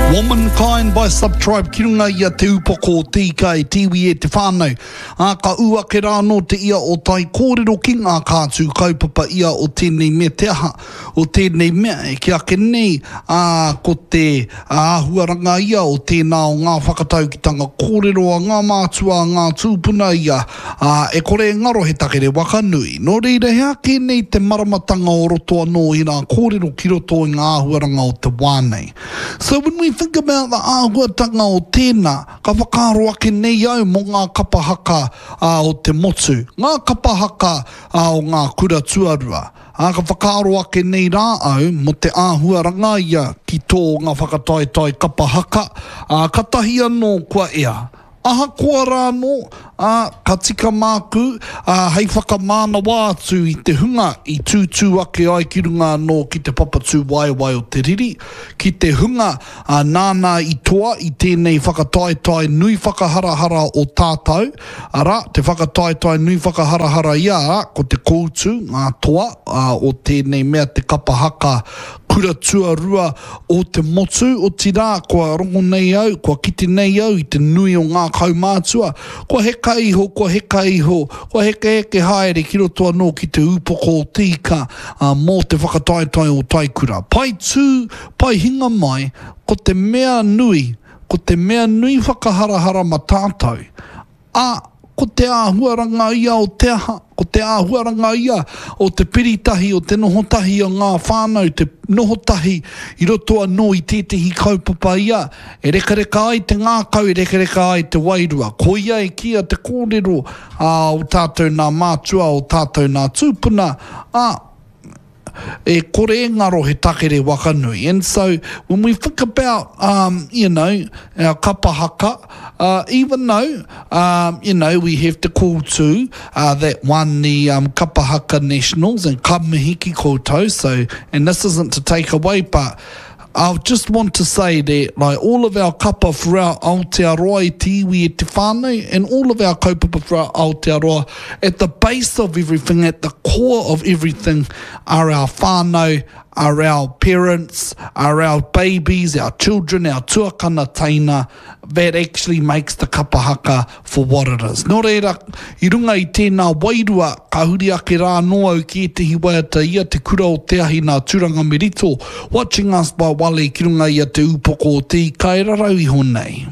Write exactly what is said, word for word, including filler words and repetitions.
Womankind by Subtribe ki runga i a Te Upoko o Te Ika e te iwi e te whānau. Ā, ka ū ake rā anō te ia o tai kōrero ki ngā kātū kaupapa ia o tēnei mea te aha, o tēnei mea e kī ake nei, ā, ko te āhuaranga ia o tēnā o ngā whakataukitanga kōrero a ngā mātua a ngā tūpuna ia, ā, e kore e ngaro he takere waka nui. Nō reira, he aha kē nei te maramatanga o roto anō i rā kōrero ki roto i ngā āhuaranga o te wā nei? So when we think about the āhuatanga o tēnā, ka whakaaro ake nei au mō ngā kapa haka ā, o te motu, ngā kapa haka ā, o ngā kura tuarua. Ā, ka whakaaro ake nei rā au mō te āhuaranga ia ki tō ngā whakataetae kapa haka, ā, katahi anō kua ea. Ahakoa rā anō, ā, ka tika māku, ā, hei whakamānawa atu i te hunga i tūtū ake ai ki runga anō ki te papa tūwaewae o te riri, ki te hunga, ā, nāna i toa i tēnei whakataetae nui whakaharahara o tātou, arā, te whakataetae nui whakaharahara ia, arā, ko te koutu, ngā toa, ā, o tēnei mea te kapa haka kura tuarua o te motu, otirā, kua rongo nei au, kua kite nei au i te nui o ngā kaumātua, kua heka iho, kua heka iho, kua hekeheke haere ki roto anō ki te upoko o te ika ā, mō te whakataetae o Taikura. Pai tū, pai hinga mai, ko te mea nui, ko te mea nui whakaharahara ma tātou, ā, ko te āhuaranga ia o te aha, ko te āhuaranga ia o te piritahi, o te noho tahi o ngā whānau, te noho tahi i roto anō i tētehi kaupapa ia, e rekareka ai te ngākau, e rekareka ai te wairua. Koia e kīia te kōrero ā, o tātou nā mātua, o tātou nā tūpuna, ā, e kore e ngaro he takere waka nui. And so, when we think about, um, you know, our kapa haka, uh, even though, um, you know, we have te koutu uh, that won the um, kapa haka nationals and ka mihi ki koutou, so, and this isn't to take away, but I just want to say that like all of our kapa throughout Aotearoa i te iwi e te whānau and all of our kaupapa throughout Aotearoa, at the base of everything, at the core of everything are our whānau, are our parents, are our babies, our children, our tuakana teina, that actually makes the kapa haka for what it is. Nō reira, i runga i tēnā wairua, ka huri ake rā anō au ki ētehi waiata ia te kura o te ahi nā Turanga Merito, Watching Us by Wale ki runga i a te upoko o te ika e rarau iho nei.